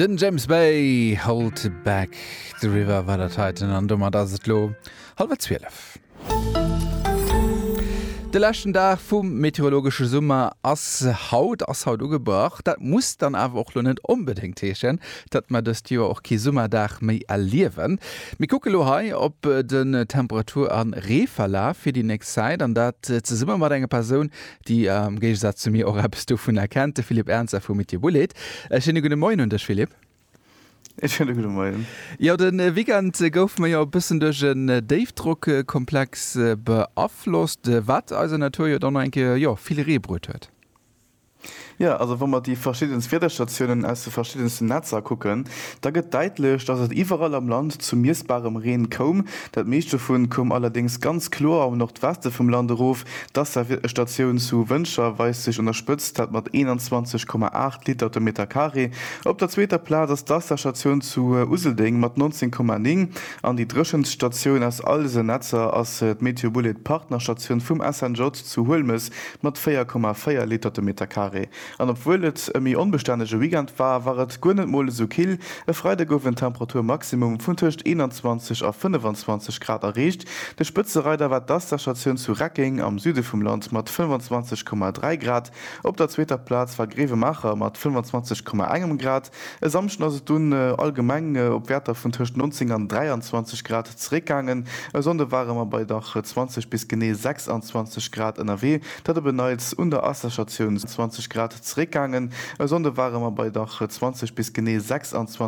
Den James Bay, Hold Back the River war dat heiten an domat ass et lo hallwer 12. De leschten Dag vum meteorologesche Summer ass haut ass haut ugebrach. Dat muss dann awer och lo net onbedéngt heeschen, datt mer dëst Joer och kee Summerdag méi erliewen. Mir kucke lo hei op den Temperatur a Reeverlaf fir déi nächst Zäit an dat zesumme mat enger Persoun, déi am Géigesaz zu mir och eppes dovunner kennt, de Philippe Ernzer vu Meteobullet. E schéine gudde Moien un dech, Philippe. E schéine gudde Moien. Jo, de Weekend goufe mer jo e bëssen duerch en Déifdrockkomplex beaflosst, wat eiser Natur jo dann nach eng Kéier, jo, vill Ree bruet huet. Jo, also wa mer déi verschiddenst Wiederstatiounen aus de verschiddensten Netzer kucken, da gëtt däitlech, dass et iwwerall am Land zu miessbarem Reen koum. Dat meescht dovun koum allerdéngs ganz kloer am Nordweste vum Land erof. D'Asser-Statioun zu Wëntger weist sech un der Spëtzt, dat mat 21,8 Liter de Meter Carré. Op der zweeter Plaz ass d'Asser-Statioun zu Useldeng mat 19,9 an déi dréchenst Statioun aus all dësen Netzer ass d'Meteobullet Partnerstatioun vum SNJ zu Huelmes mat 4,4 Liter de Meter Carré. An obwuel et e méi onbestännege Weekend war, war et guer net mol esou kill. E Freide gouf en Temperaturmaximum vun tëscht 21 a 25 Grad erreecht. De Spëtzereider war d'Asta-Statioun zu Reckeng am Süde vum Land mat 25,3 Grad. Op der zweeter Plaz war Grevenmacher mat 25,1 Grad. E Samschden ass et dunn allgemeng op Wäerter vun tëscht 19 an 23 Grad zeréckgaangen. E Sonnde ware mer bei dach 20 bis genee 26 Grad ënnerwee, dat op en Neits un der Asserstatioun 20 Grad zeréckgaangen. E Sonnde ware mer bei dach 20 bis genee 26.